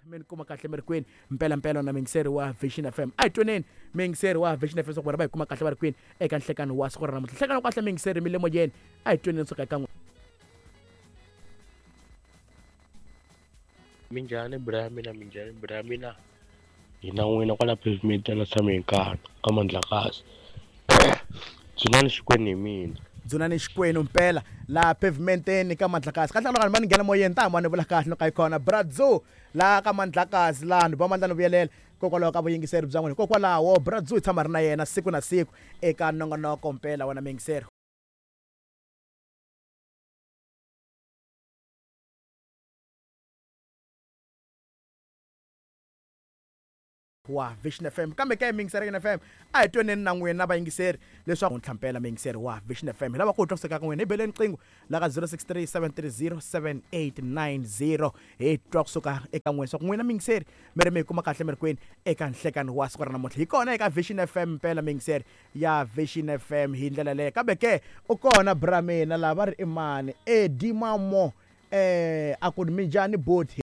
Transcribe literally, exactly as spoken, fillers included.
Mi ni kuma kahle mi ri kwini mpelampela na muyingiseri wa Vision F M. A hi twaneni muyingiseri wa Vision F M swa ku vona va hi kuma kahle va ri kwini eka nhlekani wa siku ra namuntlha. Nhlekani wa kahle muyingiseri mi le moyeni, a hi twaneni suka eka n'wina. Minjhani bra mina, minjhani bra mina. Hina n'wina kwala pavement la tshame hi nkarhi ka Mandlakazi. Dzunani Xikwenu hi mina. Dzunani Xikwenu mpela la pavementeni ka Mandlakazi. Kahle loko va ni nghena moyeni ta hamba ni vula kahle loko yi kona Bradzu la ka Mandlakazi laha ni ba mandla ni vuyelela hikokwalaho ka vuyingiseri bya n'wina. Hikokwalaho Bradzu hi tshama ri na yena siku na siku eka nongonoko mpela wena muyingiseri. Wa Vision F M. Kambe ka muyingiseri ya F M a hi twaneni na n'wina vayingiseri leswaku ntlhampela muyingiseri wa Vision F M. Hi lava ku twa kusuka ka n'wina, hi beleni riqingho la ka zero six three seven three zero seven eight nine zero. Hi twa kusuka eka n'wina swa ku n'wina muyingiseri mi ri mi hi kuma kahle mi ri kwini eka nhlekani wa siku ra namuntlha. Hi kona eka Vision F M mpela muyingiseri ya Vision F M hi ndlela leyo. Kambe ke u kona bra mina lava ri i mani Eddie Mamo, eh a ku minjhani boti.